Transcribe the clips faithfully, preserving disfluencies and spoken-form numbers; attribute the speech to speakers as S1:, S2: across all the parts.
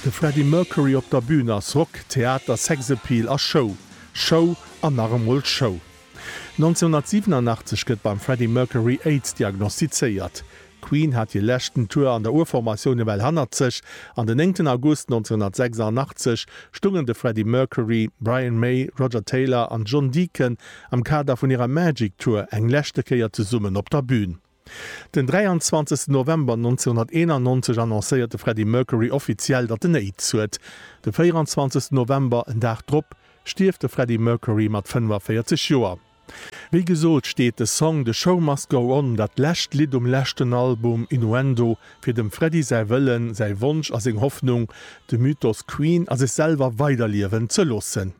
S1: De Freddie Mercury op der Bün ass Rock, Theater, Sexappeal a Show. Show an nach emol Show. nonzénhunnertsiwenanachtzeg gëtt beim Freddie Mercury Aids diagnostizéiert. Queen hat hir leschten Tour an der Urformatioun ewell hannert sech an den néngten August nonzénhunnertsechsandachtzeg stungen de Freddie Mercury, Brian May, Roger Taylor an John Deacon am Kader vun hirer Magic Tour eng leschte Kéier zesummen op der Bün. Den dräianzwanzegsten November nonzénhunnerteenannonzeg annoncéiert de Freddie Mercury offiziell, datt en Aids huet. De véieranzwanzegsten November, en Dag drop, stierft de Freddie Mercury mat fënnefaféierzeg Joer. Wéi gesot steet de Song The Show Must Go On, dat lescht Lidd um leschten Album Innuendo, fir dem Freddie säi Wëllen, säi Wonsch a seng Hoffnung, de Mythos Queen a sech selwer weiderliewen ze loossen.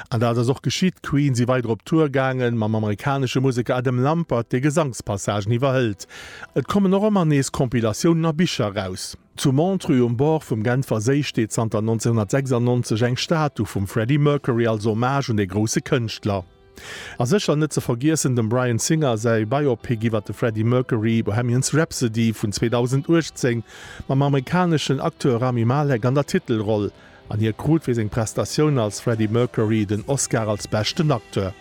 S1: An dat ass och geschitt, Queen si weider op Tour gaangen, mam amerikanesche Museker Adam Lampert, dee Gesangspassagen iwwerhëlt. Et kommen och ëmmer nees Compilatiounen a Bicher eraus. Zu Montreux um Bord vum Genfer Séi steet zanter nonzénhunnertsechsandnonzeg eng Statu vum Freddie Mercury als Hommage un dee grousse Kënschtler. A sécher net ze vergiessen dem Bryan Singer säi Biopic iwwer de Freddie Mercury, Bohemians Rhapsody vun zweedausendachtzéng, mam amerikaneschen Acteur Rami Malek an der Titelroll. An hie krut fir seng Prestatioun als Freddie Mercury den Oscar als beschten Acteur.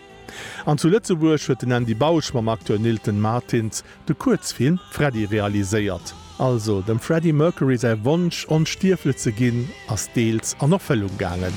S1: An zu Lëtzebuerg huet den Andy Bausch mam Acteur Nilton Martins de Kuerzfilm Freddie realiséiert. Also, dem Freddie Mercury säi Wonsch, onstierflech ze ginn, ass deels an Erfëllung gaangen.